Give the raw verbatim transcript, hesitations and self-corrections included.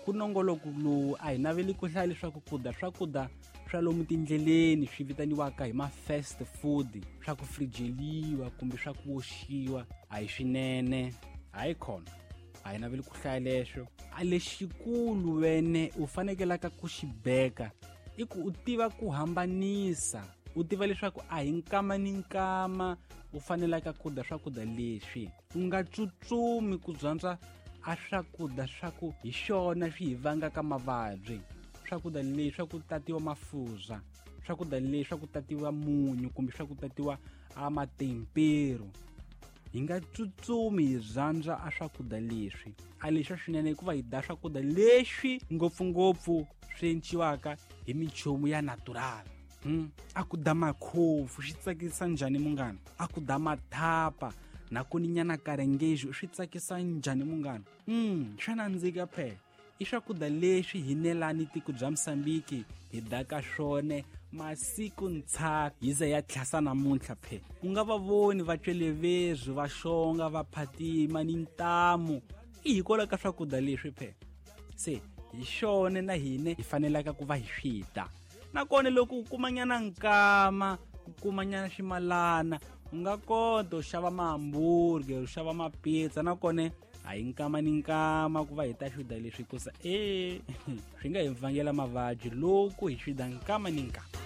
Ku nongoloko lowu a hi naveli ku hlaya leswaku ku dya swakudya swa lomu tindleleni swi vitaniwaka hi ma-fast food, swa ku frijeliwa kumbe swa ku oxiwa a hi swinene. Hayi khona, a hi naveli ku hlaya leswo. A lexikulu wene u fanekelaka ku xi beka i ku u tiva ku hambanisa, u tiva leswaku a hi nkama ni nkama u fanelaka ku dya swakudya leswi. U nga tsutsumi ku dyondza a swakudya swa ku hi swona swi hi vangaka mavabyi. Swakudya leswi swa ku tatiwa mafurha, swakudya leswi swa ku tatiwa munyu kumbe swa ku tatiwa a matempero. Hi nga tsutsumi hi rhandza a swakudya leswi. A leswi swinene hikuva hi dya swakudya leswi ngopfungopfu swi enciwaka hi minchumu ya natural. Hmm? A ku dya makhofu swi tsakisa njhani munghana? A ku dya mathapa na ku ni nyana karengejo swi tsakisa njhani munghana? Mm, swa nandzika phela. I swakudya leswi hi nelani tiko bya Mozambique hi daka swona masiku ntsha hi ze ya tlhasa namuntlha phela. U nga va voni va cwelevezu, va xonga, va phatima ni ntamu, i hikwalaho ka swakudya leswi phela. Se hi xona na hina hi fanelaka ku va hi swi dya. Nakona loko u kumanyana nkama, u kumanyana ximalana, u nga kota u xava ma-hamburger, u xava mapizza. Nakona a hi nkama ni nkama ku va hi ta swi dya leswi hikusa e swi nga hi vangela mavabyi loko hi swi dya nkama ni nkama.